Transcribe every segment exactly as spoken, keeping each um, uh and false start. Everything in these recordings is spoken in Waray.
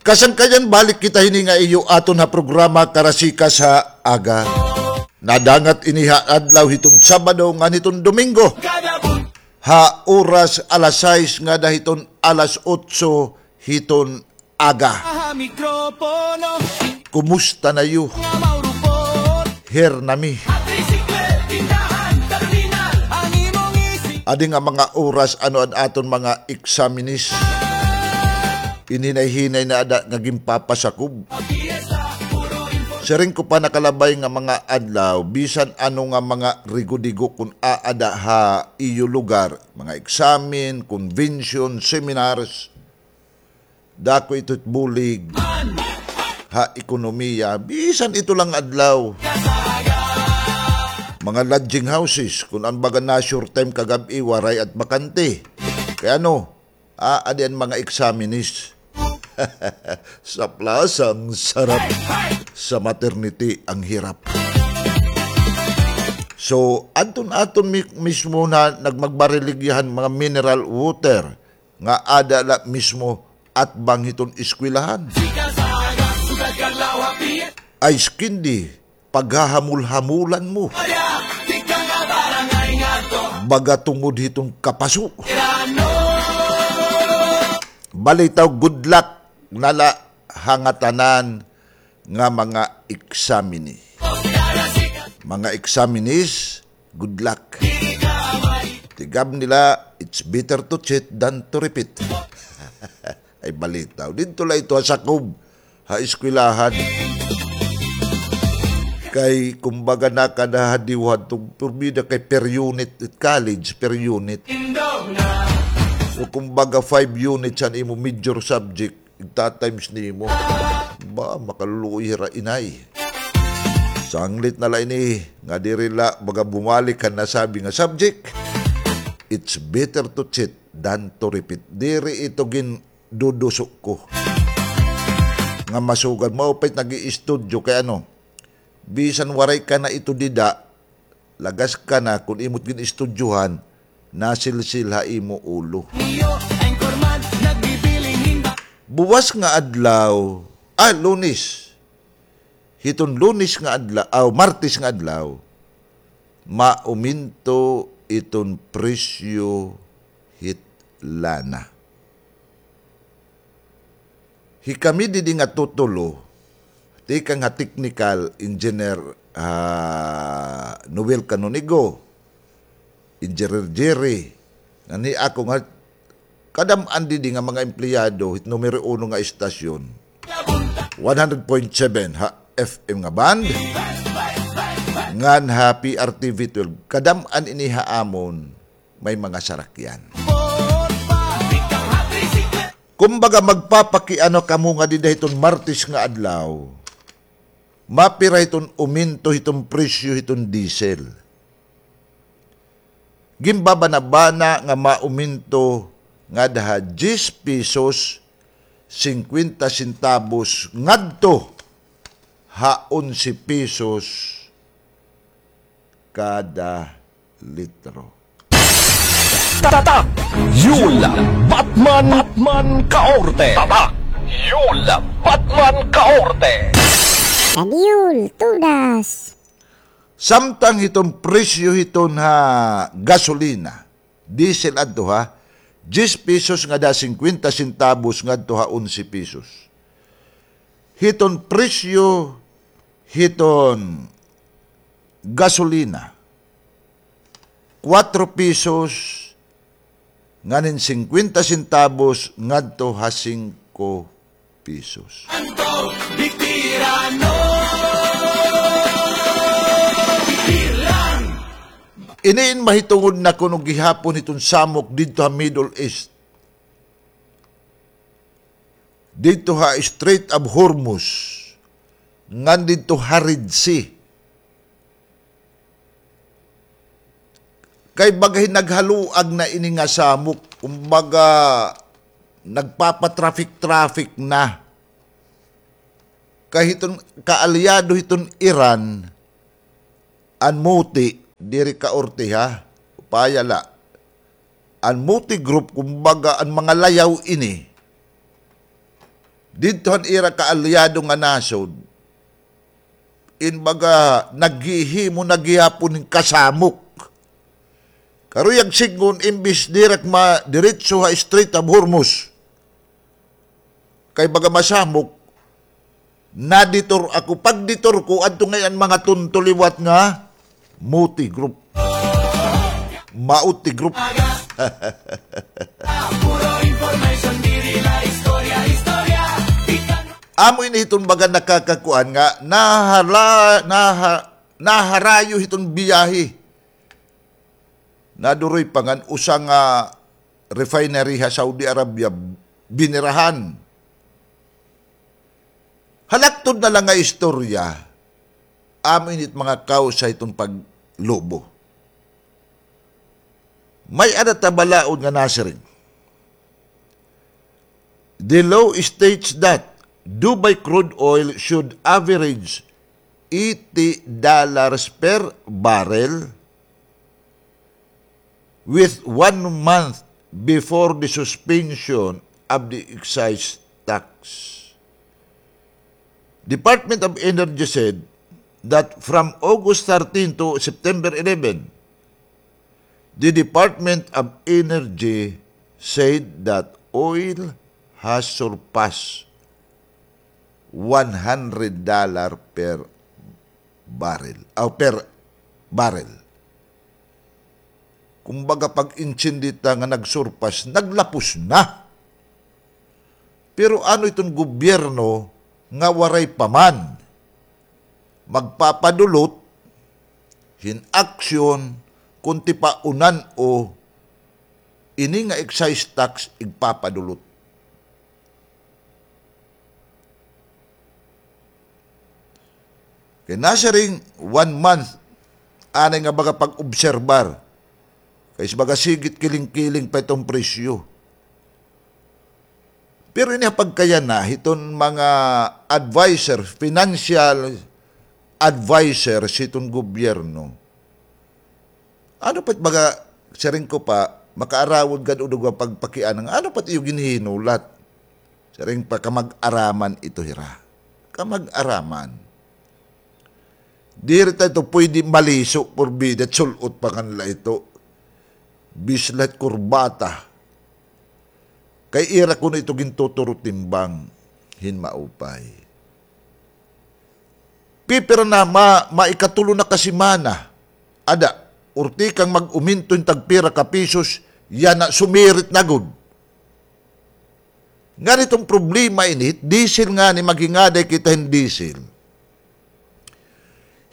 Kasangkayan, balik kita hini nga iyo aton ha programa Karasikas ha Aga. Nadangat ini ha adlaw hiton Sabado ngan hiton Domingo. Ha oras alas sais ngada hiton alas otso hiton aga. Kumusta na iyo? Here nami. Adi nga mga oras ano an aton mga eksaminis. Inhinay-hinay na ada nga ginpapasakob. Siring ko pa nakalabay nga mga adlaw, bisan ano nga mga rigo-digo kun aada ha iyo lugar, mga eksamen, convention, seminars, dako ito it bulig ha ekonomiya, bisan ito lang adlaw. Mga lodging houses, kun an baga na-sure time kagab-i, waray at bakante. Kay ano, aadi an mga eksaminis. Sa plaza ang sarap, sa maternity ang hirap. So, adton aton mi-, mismo na nagmagbariligyahan mga mineral water nga ada la mismo atbang hiton eskwelahan. Ice candy, paghahamol-hamolan mo. Baga tungod hiton kapaso. Balitaw, good luck na la ha ngatanan nga mga eksamini. Mga eksaminis, good luck. Tigab nila, it's better to cheat than to repeat. Ay balitaw. Didto la ito ha sakob ha eskwelahan. Kay kumbaga nakadahadiwhan tong porbida kay per unit it college, per unit. So kumbaga five units an imo major subject, igta-times nimo. Ba, makaluluoy hira inay. Sanglit na la ini, nga diri la baga bumalik han nasabi nga subject. It's better to cheat than to repeat. Diri ito gin duduso ko. Nga masugad, mao pa it nag-iistudyo kay ano, bisan waray ka na ito dida, lagas ka na kun imo't gin-istudyohan, nasilsil ha imo ulo. Buwas nga adlaw, ah, Lunes. Hiton Lunes nga adlaw, aw, Martes nga adlaw, mauminto iton presyo hit lana. Hikami didi nga tutulo, tikang ha technical engineer, ah, Noel Canonigo, Engineer Jerry, ngan hi ako nga kadam-an didi nga mga empleyado hit numero uno nga estasyon, one hundred point seven ha F M nga band, ngan ha P R T V twelve. Kadam-an ini ha amon may mga sarakyan. Kumbaga, magpapakiano kamo nga dida hiton Martes nga adlaw, mapira hiton uminto hiton presyo hiton diesel. Ginbabanabana nga mauminto ngada ha diyes pesos singkwenta sentabos ngadto ha onse pesos kada litro. Tatak Yul Batman, Batman Kaorte. Tatak Yul Batman Kaorte. Tatak Yul, todas. Samtang hiton presyo hiton ha gasolina, diesel adto ha, diyes pesos ngada singkwenta sentabos ngadto ha onse pesos. Hiton presyo hiton gasolina, kuwatro pesos nganin singkwenta sentabos ngadto ha singko pesos. Ini in mahitungod na kuno gihapon hiton samok didto ha Middle East. Didto ha Strait of Hormuz, ngan didto ha Red Sea. Kay baga hin naghaluag na ini nga samok, kumbaga, nagpapa-traffic-traffic na. Kay hiton kaalyado hiton Iran, an Houthi, diri kaorte ha, upaya la. An Houthi group, kumbaga, an mga layaw ini, Didto han ira kaalyado nga nasod, in baga naghihimo na gihapon hin kasamok. Karuyag sidngon, imbis diri ak madiretso ha Strait of Hormuz, kay baga masamok, na-detour ako. Pag-detour ko, adto ngay-an mga tunto liwat nga Moti Group. Mauti Group. Amo ini hiton baga nakakakuan nga nahala-, naha-, naharayo hiton biyahe. Naduroy pa ngan usa nga refinery ha Saudi Arabia, binirahan. Halakton na la nga istorya, amo ini it mga kawsa hiton paglubo. May-ada ta balaod nga nasiring, the law states that Dubai crude oil should average eighty dollars per barrel, with one month before the suspension of the excise tax. Department of Energy said that from August thirteen to September eleven, the Department of Energy said that oil has surpassed one hundred dollar per barrel, o per barrel. Kumbaga, pag-intindi ta nga nagsurpas, naglapos na. Pero ano iton gobyerno nga waray pa man magpapadulot hin aksyon, kun tipaunan o ini nga excise tax igpapadulot? Kay nasiring one month, anay nga baga pag-obserbar. Kay baga sige it kiling-kiling pa iton presyo. Pero ini ha pagkayana hiton mga adviser, financial adviser hiton gobyerno, ano pa it baga, siring ko pa, makaarawod gad udog nga pagpakiana nga ano pa it iyo ginhinulat. Siring pa, kamag-araman ito hira. Kamag-araman. Diri ta ito pwede maliso, porbida, sul-ot pa ngan la ito. Bislat kurbata. Kay ira kuno ito gintuturo timbang hin maupay. Pipira na, ma-, maikatulo na ka semana. Ada, urtikang mag-uminto hin tagpira ka pisos, yana sumirit na gud. Ngani iton problema ini, diesel ngani, maghingaday kita hin diesel.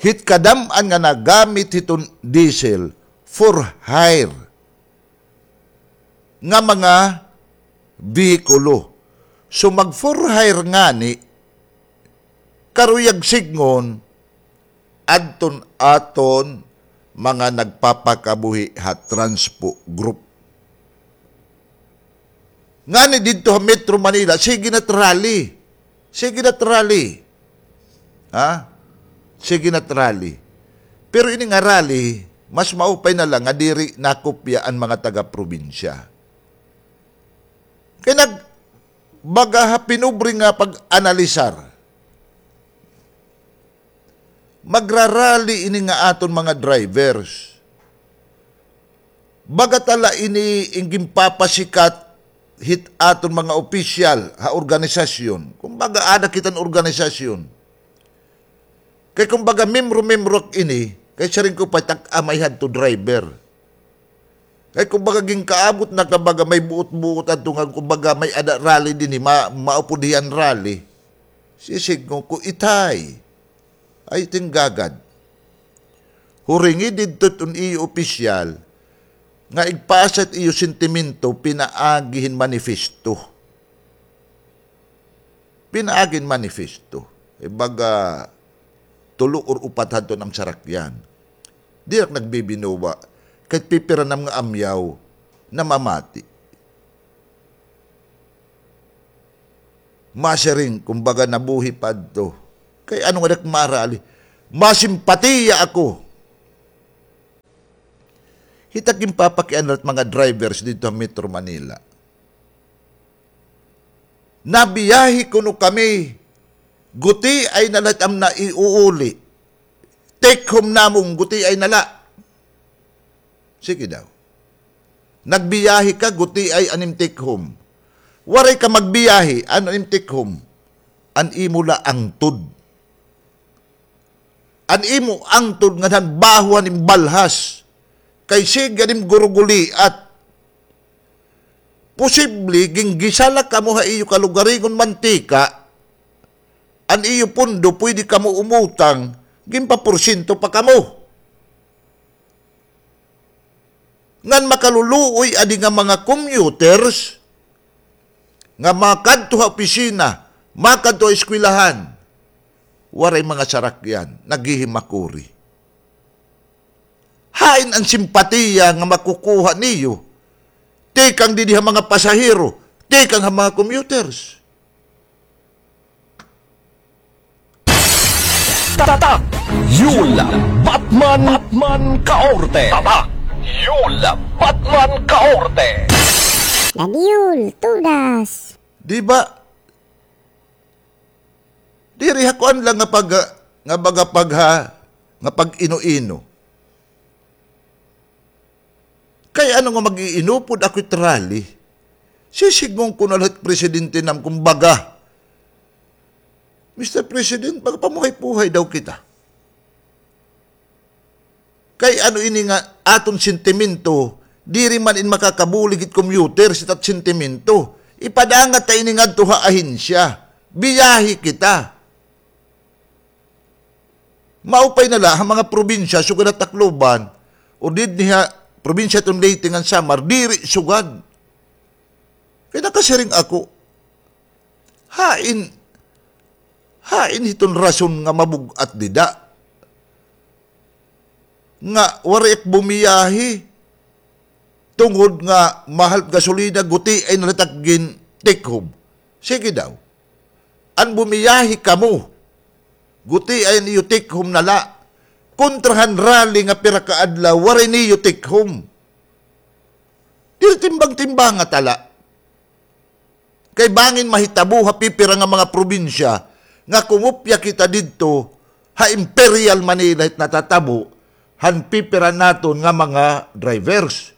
Hit kadam-an nga nagamit hiton diesel, for hire nga mga behikulo. So, mag-for hire ngani, karuyag sidngon, adton aton mga nagpapakabuhi ha Transpo Group. Ngani didto ha Metro Manila, sige na it rally. Sige na it rally. Ha? Sige na it rally. Pero ini nga rally, mas maupay na la nga diri nakopya an mga taga-probinsya. Kay nag-, baga ha pinobre nga pag-analisar. Magrarally ini nga aton mga drivers. Baga ta la ini in ginpapasikat hit aton mga opisyal ha organisasyon. Kumbaga, ada kita hin organisasyon. Kay kumbaga, membro-membro ak ini, kay siring ko pa, tak-a may hadto driver. Kay kumbaga, ginkaabot na ka baga may buot-buot adto nga kumbaga may ada rally dinhi, ma-, maupod hiya hin rally. Sisidngon ko, itay. Ay, tinggagad. Huringi didto it iyo opisyal nga igpasa it iyo sentimento pinaagi hin manifesto. Pinaagi hin manifesto. Ibaga, tulo or upat hadton am sarakyan. Diri ak nagbibinuwa. Kay pipira nam nga amyaw, namamati. Masiring, kumbaga, nabuhi pa adto. Kay ano nga dak marali? Masimpatiya ako hit ak ginpapakiana hit mga drivers didto ha Metro Manila. Nabiyahe kuno kami, gutiay na la it am naiuuli. Take home namon, gutiay na la. Sige daw. Nagbiyahe ka, gutiay an im take home. Waray ka magbiyahe, ano an im take home? An imo la angtod. An imo angtod ngan han baho han im balhas. Kay sige an im guruguliat. Posible, ginggisa la kamo ha iyo kalugaringon mantika, an iyo pondo, pwede kamo umutang, ginpaporsyento pa kamo. Ngan makaluluoy adi nga mga commuters nga makadto ha opisina, makadto ha eskwelahan, waray mga sarakyan, naghihimakuri. Hain an simpatiya nga makukuha niyo tikang didi ha mga pasahero, tikang ha mga commuters? Tatak Yul Batman, Batman Kaorte. Tatak Yul Batman Kaorte. Ladiol, tudas. Di ba? Diri ha kuan lang nga pag-, nga baga pagha-, nga pag-ino-ino. Kay ano nga mag-iinupod ako it rally? Sisidngon ko na la hit presidente nam, kumbaga, Mister President, magpamuhay-puhay daw kita. Kay ano ini nga aton sentimento, diri man in makakabulig it commuter, it at sentimento. Ipadangat ta ini ngadto ha ahensya. Biyahe kita. Maupay na la ha mga probinsya, sugad ha Tacloban, o didto ha probinsya iton Leyte ngan Samar, diri sugad. Kay nakasiring ako, hain, hain hiton rason nga mabug-at dida. Nga waray ak bumiyahe, tungod nga mahal gasolina, gutiay na la it ak gin-take home. Sige daw. An bumiyahe kamo, gutiay an iyo take home na la. Kontra han rally nga pira ka adlaw, waray niyo take home. Diri timbang-timbanga ta la. Kay bangin mahitabo ha pipira nga mga probinsya nga kumopya kita didto ha Imperial Manila hit natatabo han pipira naton nga mga drivers.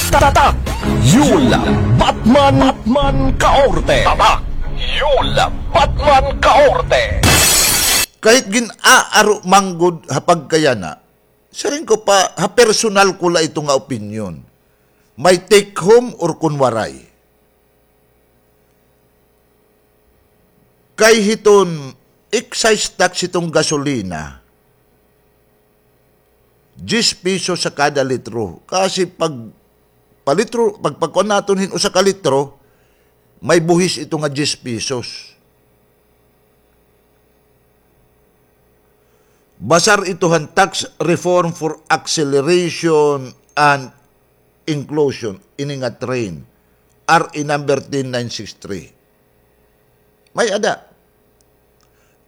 Tatak Yul Batman, Batman Kaorte. Tatak Yul Batman Kaorte. Kahit gin-aaro man gud ha pagkayana, siring ko pa, ha personal ko la ito nga opinyon. May take home or kun waray. Kay hiton excise tax hiton gasolina, diyes pesos ha kada litro. Kasi pag palitro, pag pagkuan naton hin usa ka litro, may buhis ito nga diyes pesos. Basar ito han Tax Reform for Acceleration and Inclusion, ini nga train, R A number ten nine six three. May-ada.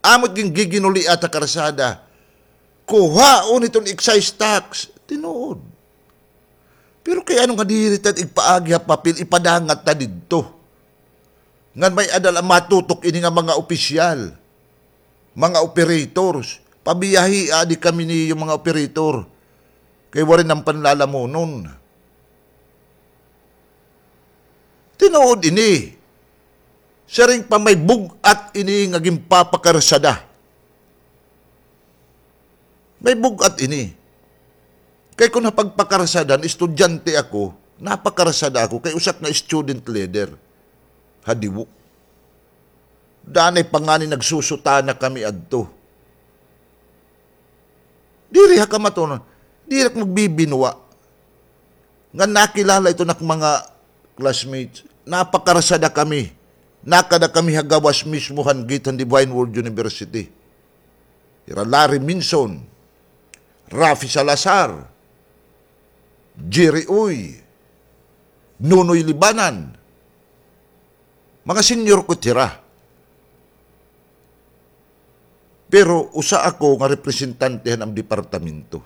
Amo it gin-, giginuliat ha karsada. Kuhaon hiton excise tax. Tinuod. Pero kay ano nga diri ta igpaagi ha papel, ipadangat ta didto? Ngan may-ada la matutok ini nga mga opisyal, mga operators. Pabiyahia adi kami niyo, mga operator. Kay waray nam panlalamunon. Tinuod ini. Siring pa, may bug-at ini nga ginpapakarsada. May bug-at ini. Kay kun ha pagpakarsada, estudyante ako, napakarsada ako kay usa ak nga student leader ha Diwo. Danay pa ngani nagsusutana kami adto. Diri ha kamatuoran, diri ak magbibinwa. Nga nakilala ito nak mga classmates. Napakarsada kami. Nakada kami ha gawas mismo han gate han Divine Word University. Hira Larry Minson, Raffy Salazar, Jerry Uy, Nonoy Libanan. Mga senior ko it hira. Pero usa ako nga representante han am departamento.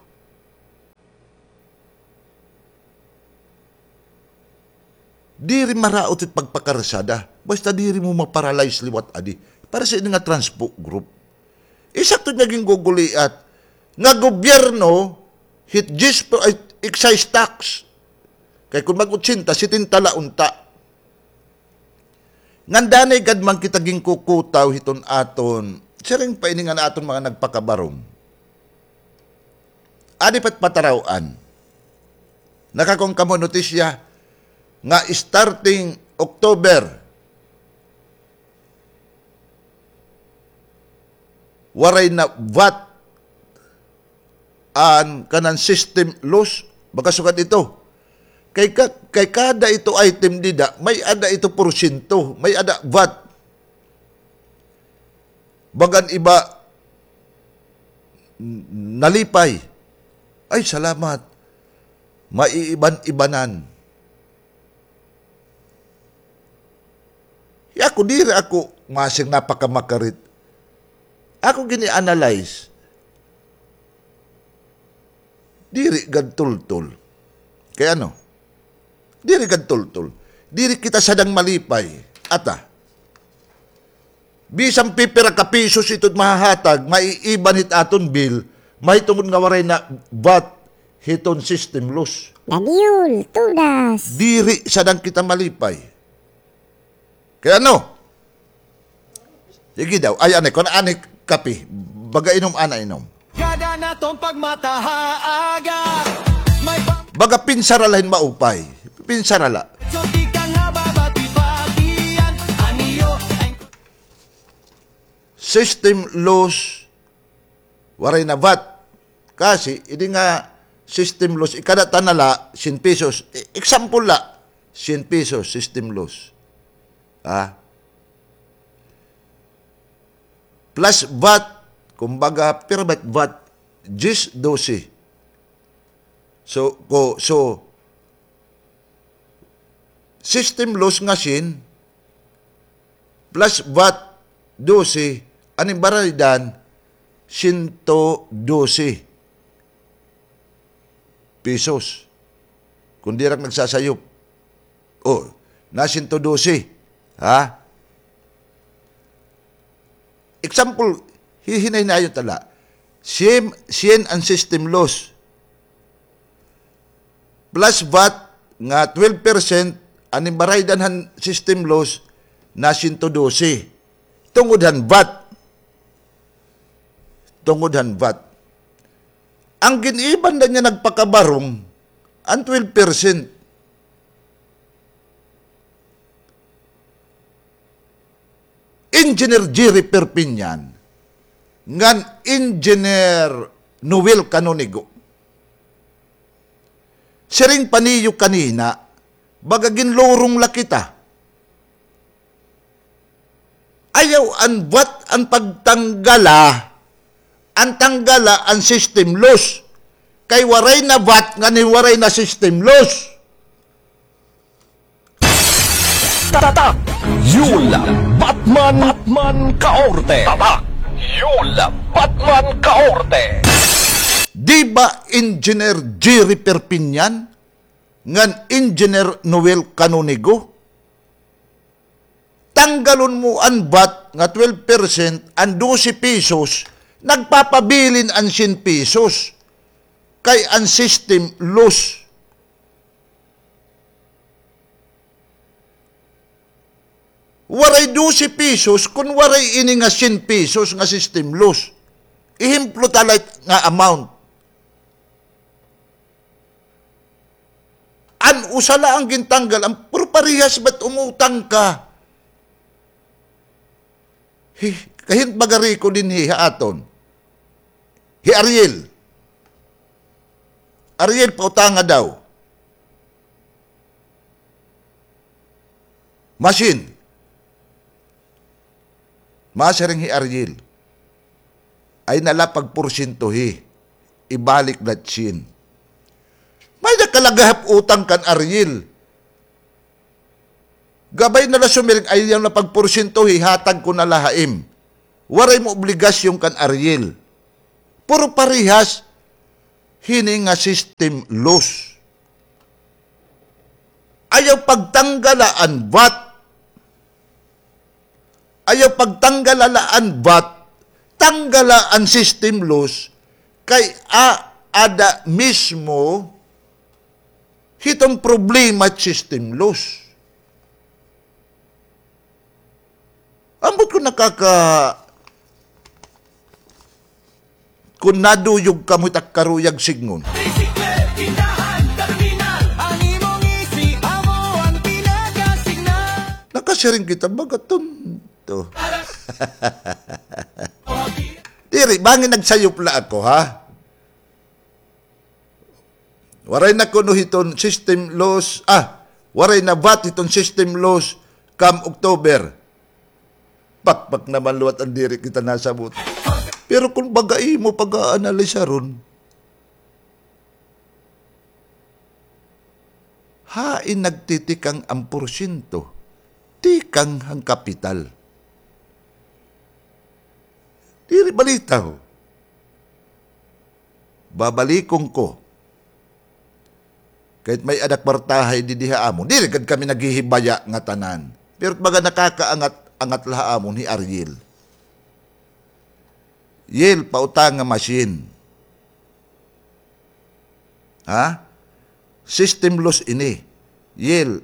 Diri maraot it pagpakarsada. Basta diri mo ma-paralyze liwat adi. Para sa ini nga transpo group. Isakto nga ginguguliat nga gobyerno hit diyes per, ay, excise tax. Kay kon mag-otsenta, setenta la unta. Ngan danay gad man kita ginkukutaw hiton aton, siring pa ini nga aton mga nagpakabarong. Adi pa it pataraw-an. Nakakuan kamo notisya nga starting October, waray na vat an kanan system loss, baga sugad ito. Kay ka-, kay kada ito item dida, may-ada ito porsyento, may-ada vat. Baga an iba, n-, nalipay. Ay, salamat. Maiiban-ibanan. Ako, diri ako masing napakamakarit. Ako gini-analyze. Diri gad tultol. Kay ano? Diri gad tultol. Diri kita sadang malipay. Ata. Bisan pipira ka pisos iton mahahatag, maiiban hit aton bill, mahitungod nga waray na vat hiton system loss. Nagyul, tudas. Diri sadang kita malipay. Kay ano? Sige daw. Ay, anay, kun anay kape. Baga inom, ana inom. Kada naton pagmata ha aga, may pa- Baga pinsara la hin maupay. Pinsara la. So, tikang ha babati-batian, an iyo ay system loss, waray na vat. Kasi, ini nga system loss, ikada ta na la, syen pesos. E-, example la, syen pesos, system loss. Ha? Plus vat, kumbaga, pira ba it vat? Diyes, dose. So, ko, so, system loss nga syen, plus vat, dose, an im baraydan, sento dose pesos. Kon diri ak nagsasayop. O, na sento dose. Ha? Example, hihinay-hinayon ta la. Syen, syen an system loss. Plus vat nga twelve percent, an im baraydan han system loss na sento dose. Tungod han vat. Tungod han vat. An gin-iban la niya nagpakabarong, an twelve percent. Engineer Jerry Perpignan, ngan Engineer Noel Canonigo. Siring pa niyo kanina, baga ginlurong la kita. Ayaw an vat an pagtanggala, an tanggala an system loss. Kay waray na vat ngan waray na system loss. Tatak Yul Batman, Batman Kaorte. Tatak Yul Batman Kaorte. Di ba Engineer Jerry Perpignan ngan Engineer Noel Canonigo? Tanggalon mo an vat nga twelve percent, an dose pesos, nagpapabilin an syen pesos. Kay an system loss. Waray dose pesos kon waray ini nga syen pesos nga system loss. Ehemplo ta la nga amount. An usa la an gintanggal, an puro parehas ba't umutang ka? Hi, kahin pagari ko dinhi ha aton. Hi Ariel. Ariel, pautanga daw. Masin. Masiring hi Ariel. Ay na la pagporsyentohi. Ibalik la it syen. May-ada ka la gihap utang kan Ariel. Gabay na la sumiring, ayaw na pagporsyentohi, hatag ko na la ha im. Waray mo obligasyon kan Ariel. Puro parehas hini nga system loss. Ayaw pagtanggala an vat. Ayaw pagtanggala la an vat. Tanggala an system loss. Kay a-, ada mismo hiton problema system loss. Ambot kon nakaka-, kon naduyog kamo hit ak karuyag sidngon. Tricycle, tindahan, terminal. An imo ngisi, amo an pinakasignal. Nakasiring kita, baga tonto. Diri, bangin nagsayop la ako, ha? Waray na kuno hiton system loss, ah, waray na vat hiton system loss kam October. Pakpak naman liwat an diri kita nasabot. Pero kon baga imo pag-aanalisaron, hain nagtitikang an porsyento? Tikang han kapital. Diri balitaw. Babalikon ko. Kay may-ada kwartahay didi ha amon. Diri gad kami naghihibaya ngatanan. Pero baga nakakaangat-angat la ha amon hi Ariel. Yel, pautanga machine. Ha? System loss ini. Yel,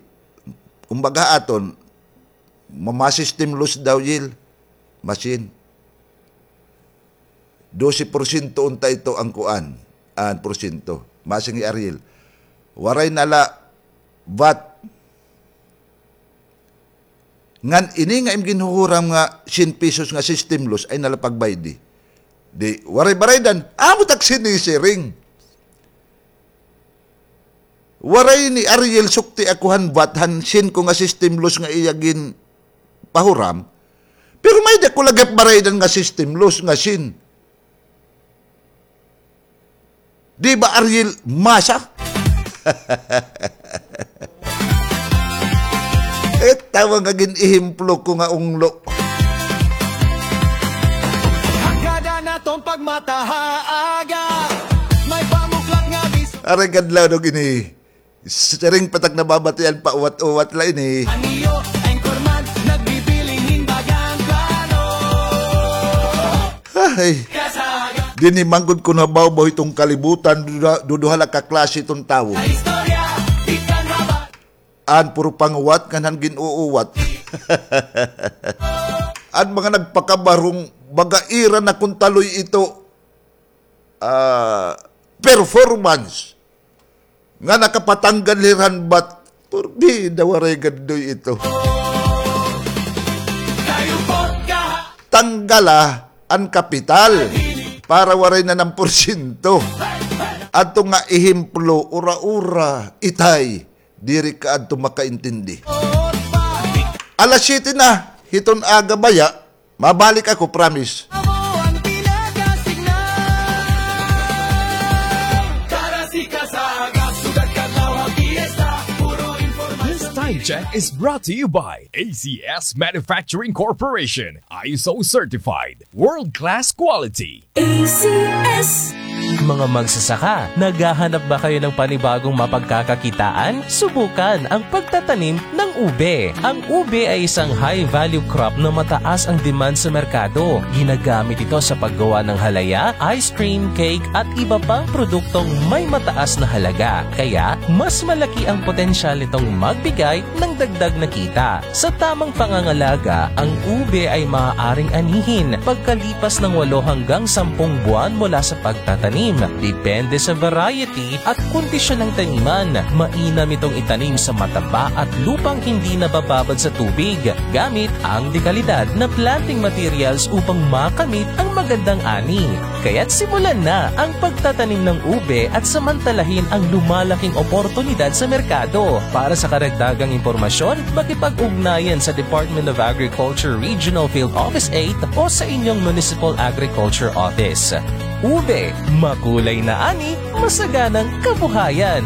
kumbaga aton, ma-, ma-system loss daw, Yel. Machine. Dose porsyento unta ito an kuan, an porsyento. Masiring hi Ariel. Waray na la vat. Ngan ini nga im ginhuhuram nga syen pesos nga system loss ay nalapagbaydi. Di, waray baraydan, amo tak sinisiring. Waray ni Ariel sukti ako han vat han syen ko nga system loss nga iya ginpahuram. Pero may-ada ko lagi baraydan nga system loss nga syen. Di ba, Ariel, masa? Itawa nga gin-ehemplo ko nga unglo. Hagada naton pagmata ha aga. May pamuklat nga bis- Aray kadlaw dog ini. Siring pa tak nababatian pa uwat-uwat la ini. An iyo anchorman, nagbibiling hin bagang plano. Ay. Kasaga. Dinhi man gud kuno ha bawbaw hiton kalibutan, duduha, duduha la ka klase hiton tawo. Sa istorya, tikang haba. An puro panguwat, ngan han gin-uuwat. An mga nagpakabarong, baga ira na kon taloy ito, ah, performance. Nga nakapatanggal hira han bat. Purbida, waray gad diri ito. Tanggala an kapital para waray na nan porsyento. Adto nga ehemplo, ura-ura, itay, diri ka adto makaintindi. Alas siyete na hiton aga baya, mabalik ako, promise. Amo an pinakasignal. Tara, sika sa aga, sugad kadlaw ha piyesta, puro impormasyon. This time check is brought to you by A C S Manufacturing Corporation, I S O certified, world-class quality. A C S. Mga magsasaka, naghahanap ba kayo ng panibagong mapagkakakitaan? Subukan ang pagtatanim ng ube. Ang ube ay isang high-value crop na mataas ang demand sa merkado. Ginagamit ito sa paggawa ng halaya, ice cream, cake, at iba pang produktong may mataas na halaga. Kaya, mas malaki ang potensyal nitong magbigay ng dagdag na kita. Sa tamang pangangalaga, ang ube ay maaaring anihin pagkalipas ng walo hanggang sampung buwan mula sa pagtatanim. Depende sa variety at kondisyon ng taniman. Mainam itong itanim sa mataba at lupang hindi nabababad sa tubig gamit ang dekalidad na planting materials upang makamit ang magandang ani. Kaya't simulan na ang pagtatanim ng ube at samantalahin ang lumalaking oportunidad sa merkado. Para sa karagdagang impormasyon, makipag-ugnayan sa Department of Agriculture Regional Field Office eight o sa inyong Municipal Agriculture Office. Ube, makulay na ani, masaganang kabuhayan.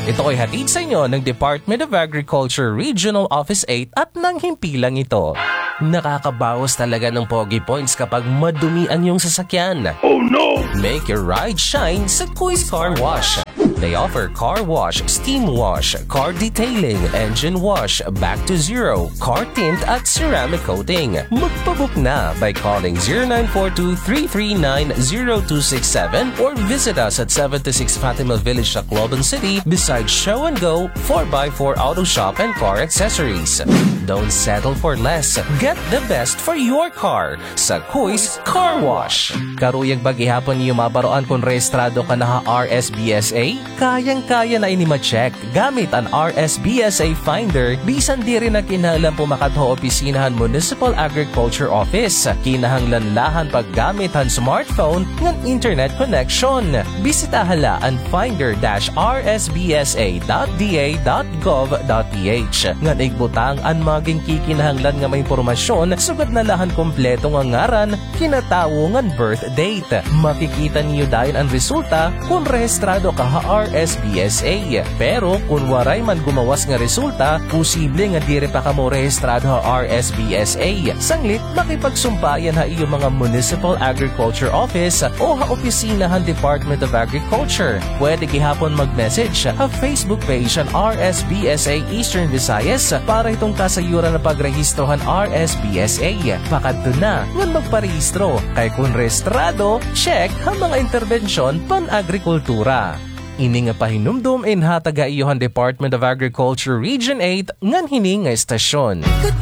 Ito ay hatid sa inyo ng Department of Agriculture Regional Office eight at ng himpilang ito. Nakakabawas talaga ng pogi points kapag madumi ang iyong sasakyan. Oh no! Make your ride shine sa Kuis Car Wash. They offer car wash, steam wash, car detailing, engine wash, back to zero, car tint at ceramic coating. Magpabook na by calling zero nine four two three three nine zero two six seven or visit us at seventy-six Fatima Village, Tacloban City, beside Show and Go, four by four Auto Shop and Car Accessories. Don't settle for less. Get the best for your car sa Kuis Car Wash. Karuyag ba gihapon niyo mabaroan kon rehistrado ka na ha R S B S A? Kayang-kaya na ini ma-check gamit an R S B S A Finder, bisan diri na kinahanglan pumakadto ha opisina han Municipal Agriculture Office. Kinahanglan la han paggamit han smartphone ngan internet connection. Bisitaha la an finder dash R S B S A dot D A dot gov dot P H ngan igbutang an mga ginkikinahanglan nga mga impormasyon, sugad na la han kompleto nga ngaran, kinatawo ngan birth date. Makikita niyo dayon an resulta kon rehistrado ka ha R S B S A. Pero kon waray man gumawas nga resulta, posible nga diri pa kamo rehistrado ha R S B S A. Sanglit, makipagsumpayan ha iyo mga Municipal Agriculture Office o ha opisina han Department of Agriculture. Pwede gihapon mag-message ha Facebook page han R S B S A Eastern Visayas para hiton kasayuran nga pagrehistro han R S B S A. Pakadto na ngan magparehistro, kay kon rehistrado, check ha mga interbensyon pan-agrikultura. Ini nga pahinumdom inhatag ha iyo han Department of Agriculture Region eight ngan hini nga estasyon.